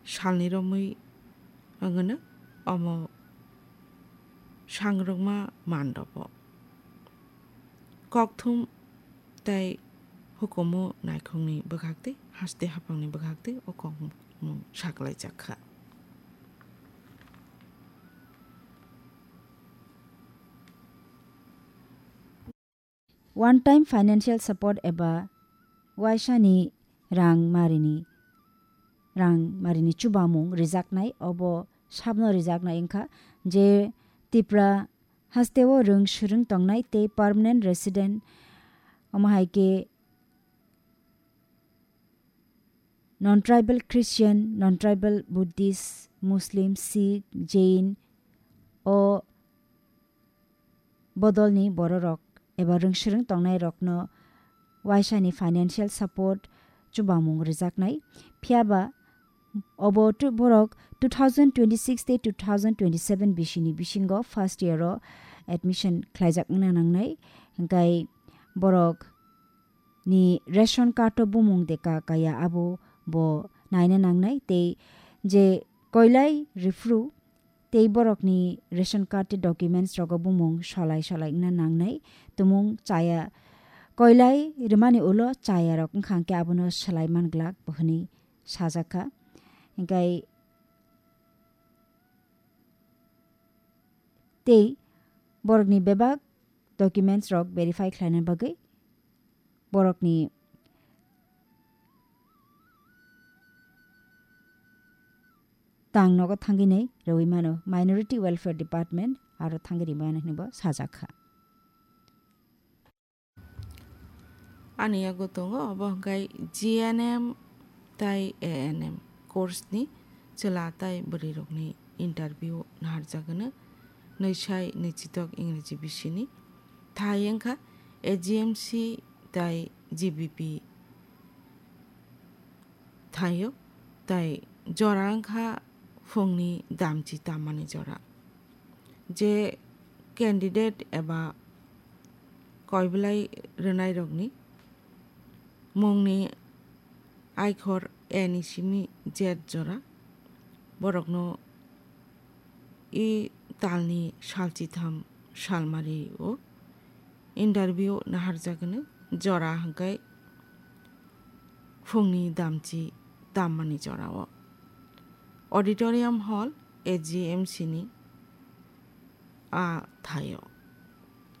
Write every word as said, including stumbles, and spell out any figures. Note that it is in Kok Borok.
salni romwi wngwno omo sangrwkma mandopo. Kokthum tei hukumu naikhungni bwkhaktwi, haste haphangni bwkhaktwi o kokmung saklaijak kha. One time financial support eba waisani rang marini, rang marini chubamung rijaknai, obo sabno rijaknai wngkha je Tipra hasteo rwng swrwng tongnai tei permanent resident, omo hai khe non-tribal Christian, non-tribal Buddhist, Muslim, Sikh, Jain, o bodolni bororok eba rwngswrwng tongnairokno waisani financial support chubamung rwjaknai. Phiyaba obo tu-, borok two thousand twenty-six tei two thousand twenty-seven bisini bisingo first year o admission khlaijak wngna nangnai. Hingkai borok ni ration card o bumung de ka kaya abo bo naina nangnai tei je koilai riphru tei borokni ration card tei documents rogo bumung solai solai wngna nangnai, tumung chaya koilai rwmani ulo chaya rok wngkha hwnkhe abono swlai man glak bo hwnwi sajak kha. Hingkai tei borokni bebak documents rok verify khlaina bagwi borokni tang nogo thangwi nai rwui mano, Minority Welfare Department aro thangwi rwui mano hinwi bo sajak kha. Ani yago tongo obo hwnkhe G N M tai A N M course ni chwla tai bwrwi rokni interview naharjak hwno, nwi sai nwi chitok Ingreji bisini. Thai wngkha A G M C tai G B P thaio, tai jora wngkha phungni damchi tammani jora. Je candidate eba koiblai rwnairokni mungni aikhor A ni simi Z jora, borokno i talni salchitham salmari o interview naharjak hwno, jora hwnkhe phungni damchi tammani jorao. Auditorium Hall, A G M C ni a thaio.